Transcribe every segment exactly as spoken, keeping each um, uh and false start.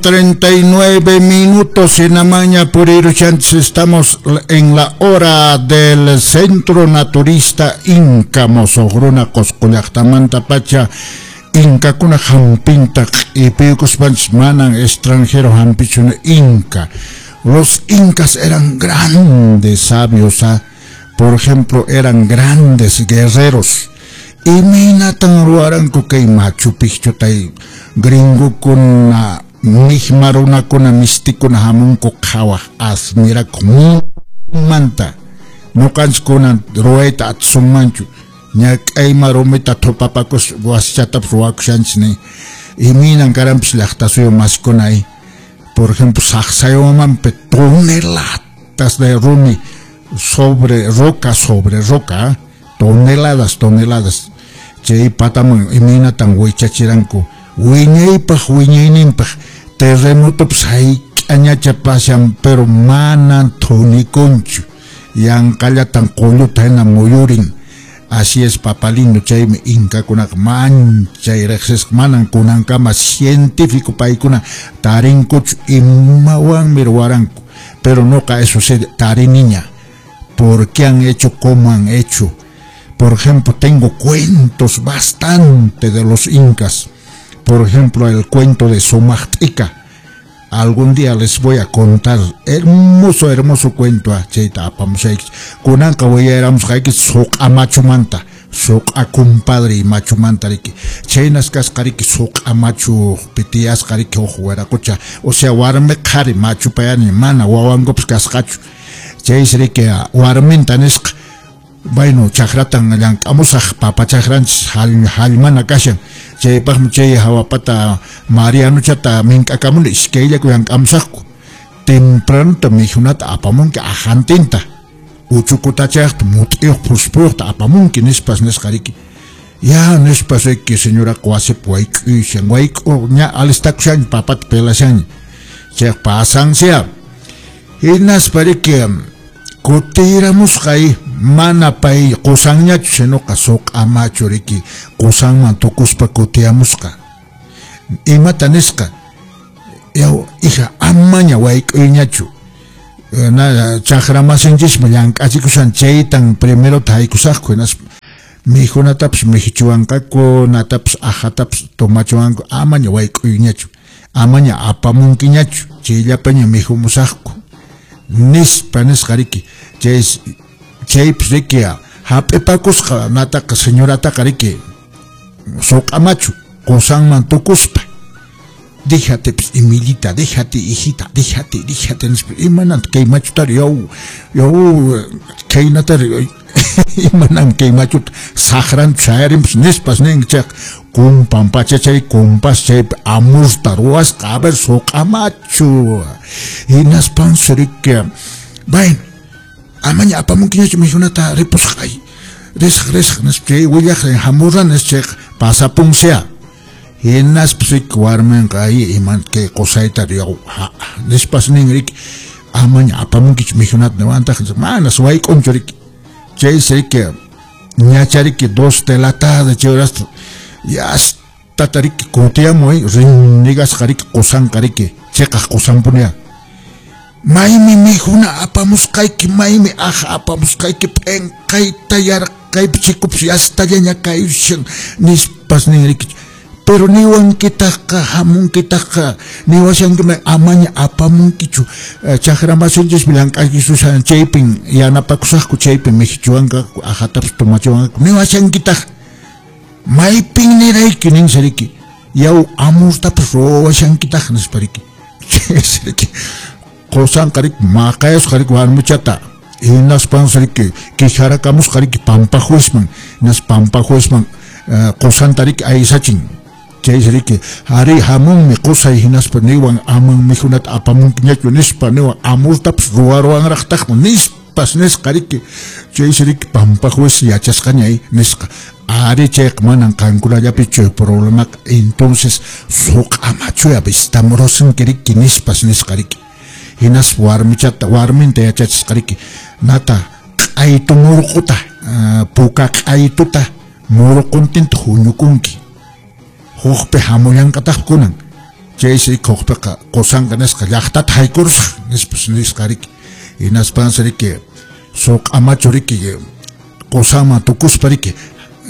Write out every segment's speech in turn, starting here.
treinta y nueve minutos en Amaña Puriruchantes. Estamos en la hora del Centro Naturista Inca Mosogruna Coscollactamanta Pacha Incakuna hampinta y piyukuspanchis manan extranjero hampichuna Inca. Los incas eran grandes sabios, ¿ah? Por ejemplo, eran grandes guerreros. Imaynatan ruwaranku kay Machu Picchu tay gringokuna misma runakuna mistikuna hamunku qhawaq admirakuq manta ñuqanchikkuna ruwayta atisunmanchu ñak'ayma rumita thupapakus wasichatapas ruwakushanchis ni imaynan karanpis llaqtasuyu masikuna. Por ejemplo, Sacsayhuamanpi toneladas de rumi sobre roca sobre roca, toneladas, toneladas. Chay pataman imaynatan wichachiranku wiñaypaq wiñayninpaq terremotopas hayk'añacha pasan pero manan thunikunchu yanqallatan qulluta hina muyurin. Así es, papalindo, chaymi inkakunaqa manchay riqsisqa manan kunankama científico paykuna tarinkuchu imawanmi ruwaranku, pero noqa eso sí tariniña. ¿Por qué han hecho como han hecho? Por ejemplo, tengo cuentos bastante de los incas. Por ejemplo, el cuento de Sumaqt'ika. Algún día les voy a contar. Hermoso, hermoso cuento. Chayta apamushaykichis. Kunanqa willaramusqaykichis suq'a machumanta. Suq'a compadre y machumanta riki. Chaynas kasqa riki suq'a machu pitiyasqa riki huk wiraqucha. O sea, warmi qhari machu payani mana wawankupas kasqachu. Chaysi riki warminta nisqa. Bueno, chakratan llank'amusaq papa chakranchis hallmana kashan. Chaypaqmi chay hawapata Marianuchata mink'akamuni iskayllaku llank'amusaqku. Tempranota mikhunata apamunki ajantinta. Uchukutachayaqta mut'iyuq phuspuyuqta apamunki nispas nisqa riki. Ya nispas riki señoraqa wasipi wayk'uyshan wayk'u ña alistakushanña papata pelashanña. Chayqa pasansiya. Hinaspa riki kutiramusqay mana pay qusanñachu sinoqa suq'a machu riki qusanman tukuspa kutiyamusqa. Imata nisqa yaw hija amaña wayk'uyñachu na chakramasinchishmi llank'achikushan chaytan primerota haykusaqku hinaspa mikhunatapas mikhuchiwanqaku natapas ajatapas tomachiwanku amaña wayk'uyñachu amaña apamunkiñachu chayllapaña mikhumusaqku nispa nisqa riki. Chay chaypis riki hap'ipakusqa nataqa señorataqa riki suq'a machu qusanman tukuspa. Déjate pues, Emilita, déjate, hijita, déjate, déjate nispa imananta kay machutari yaw yaw kaynatari imanan kay machuta saqranchu sayarinpas nispas nin chayqa kumpan pachachay kumpas chaypi amurta ruwasqa a ver suq'a machu hinaspansi riki bueno amaña apamunkiñachu mikhunata ripusqay risaq risaq nispa chay willaq hamurani chayqa pasapunsiya. Hinaspas riki warminqa ay iman kay qusayta yaw nispas nin riki amaña apamunkichu mikhunata niwantaq manas wayk'unchu riki chaysi riki ñacha riki dos de la tarde chay horasta yastata riki kutiyamuy rinnigasqa riki qusanqa riki chiqaq qusanpuniya maymi mikhuna apamusqayki maymi aja apamusqayki p'inqayta yarqaypi chikupas yastallaña kayushan nispas nin riki. Pero niwankitaqqa hamunkitaqqa niwashankima amaña apamunkichu chakramasinchishmi llank'achisushan chaypin yanapakusaqku chaypin mikhuchiwanqaku ajatapas tomachiwanqaku niwashankitaq maypin nirayki ninsi riki yaw amurtapas ruwashankitaq nispa riki. Chaysi riki qusanqa riki maqayasqa riki warmichata hinaspansi riki quejarakamusqa riki pampajuezman hinaspa pampajuezman qusanta riki aysachin. Chaysi riki ari hamunmi qusay hinaspa niwan aman mikhunata apamunkiñachu nispa niwan amurtapas ruwaruwanraqtaqmi nispas nisqa riki. Chaysi riki pampajuez yachasqaña nisqa ari chayqa manan qankunallapichu problemaqa entonces suq'a machuya vistamurusunki riki nispas nisqa riki. Hinaspa warmichata warminta yachachisqa riki nata q'aytu murquta puka q'aytuta murquntinta huñukunki hukpi hamullanqataq kunan Chaysi riki qusanqa nisqa llaqtata haykurusaq nispas nisqa riki. Hinaspansi riki suq'a machu riki qusanman tukuspa riki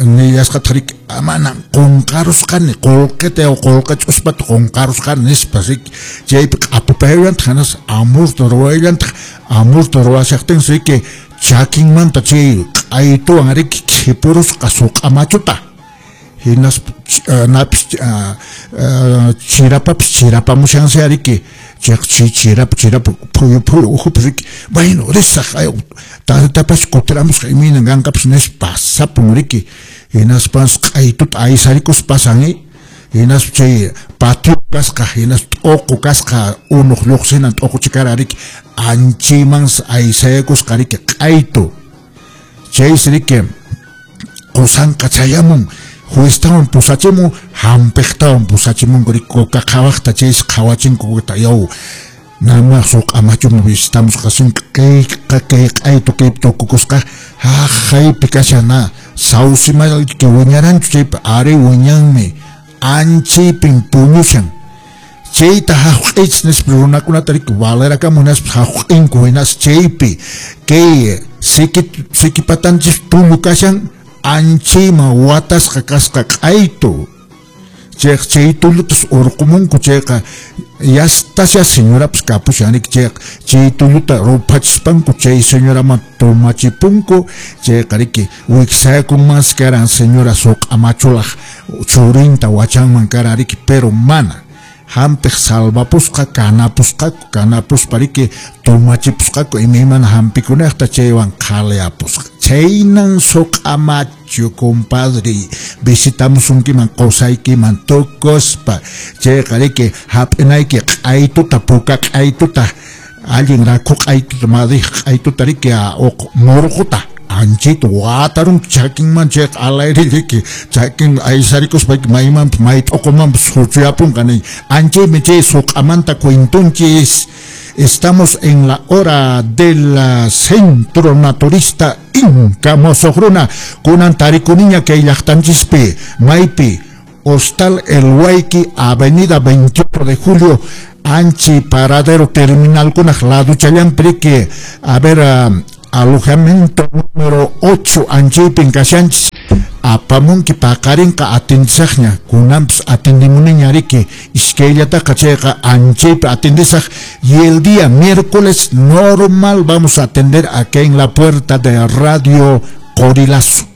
nillasqataq riki manan qunqarusqani qullqita qullqa ch'uspata qunqarusqani nispas riki. Chaypi q'apupayllantaq hinas amurta ruwayllantaq amurta ruwashaqtinsi riki chakinmanta chay q'aytuwan riki khipurusqa suq'a machuta. Hinaspa napis chirapapis chirapamushansi riki chay chirapa chirapa phuyu phuyu ukhupi riki bueno risaq tatapas kutiramusqa imaynan kanqapas nispa pasapun riki. Hinaspas q'aytuta aysarikuspa pasan hinaspa chay patio kasqa hinaspa t'uqu kasqa unuq lluqsinan t'uqu chikara riki anchaymansi aysayakusqa riki q'aytu. Chaysi riki qusanqa chayamun jueztawan pusachimun hampiqtawan pusachimunku riki kuka qhawaqta chaysi qhawachinku kukata yaw nama suq'a machuman visitamusqa kayqa kay q'aytu kaypi tukukusqa haqaypi kashan na sawsimayki wiñaranchu chaypi ari wiñanmi anchaypin puñushan. Chayta haq'ich nispa runakunata riki valerakamun hinaspa haq'inku hinas chaypi kay siki sikipatanchis tullu kashan anchayman watasqa kasqa q'aytu. Chayqa chay tullutas urqumunku chayqa yastasya señorapas kapushan riki chayqa chay tulluta ruphachispanku chay señoraman tumachipunku chayqa riki wiksayakunmansi karan señora suq'a machulaq churinta wachanman karan riki pero mana hampiq salvapusqa kanapusqaku kanapuspa riki tumachipusqaku imaymana hampikunaqta chaywan qhaliyapusqa. Chaynan suq'a machu compadre visitamusunkiman qusaykiman tukuspa chayqa riki hap'inayki q'aytuta puka q'aytuta allin rakhu q'aytuta madij q'aytuta riki murquta anchayta watarunki chakinman chayqa alayrilliki chakin aysarikuspa maymanpas may t'uqumanpas huchuyapunqa ni anchaymi chay suq'amanta cuentunchis. Estamos en la hora del Centro Naturista Inca Mosoqruna kunan tarikuniña kay llaqtanchispi maypi Hostal El Huayqui, Avenida veintiocho de Julio, anchi paradero terminal kunaq laduchallanpi riki a ver uh, alojamiento número ocho anchaypin kashanchis apamunki paqarinqa atindisaqña kunanpas atindimuniña riki iskayllataqa chayqa anchaypi atindisaq y el día miércoles normal vamos a atender acá en la puerta de Radio Corilazo.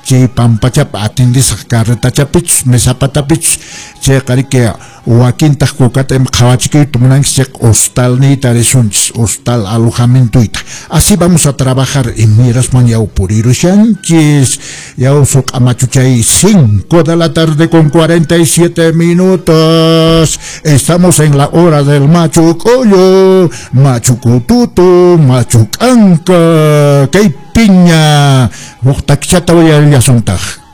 Chay pampachapa atindisaq carretachapichus mesapatapichus chayqa riki wakintaq kukata ima qhawachikuyta munanchis chayqa hostalniyta risunchis hostal alojamientoyta. Así vamos a trabajar y mirasman yaw purirushanchis yaw suq'a machuchay cinco de la tarde con cuarenta y siete minutos. Estamos en la hora del machu collo, machu kututu, machu k'anka, kay piña huk takichata uyarillasuntaj.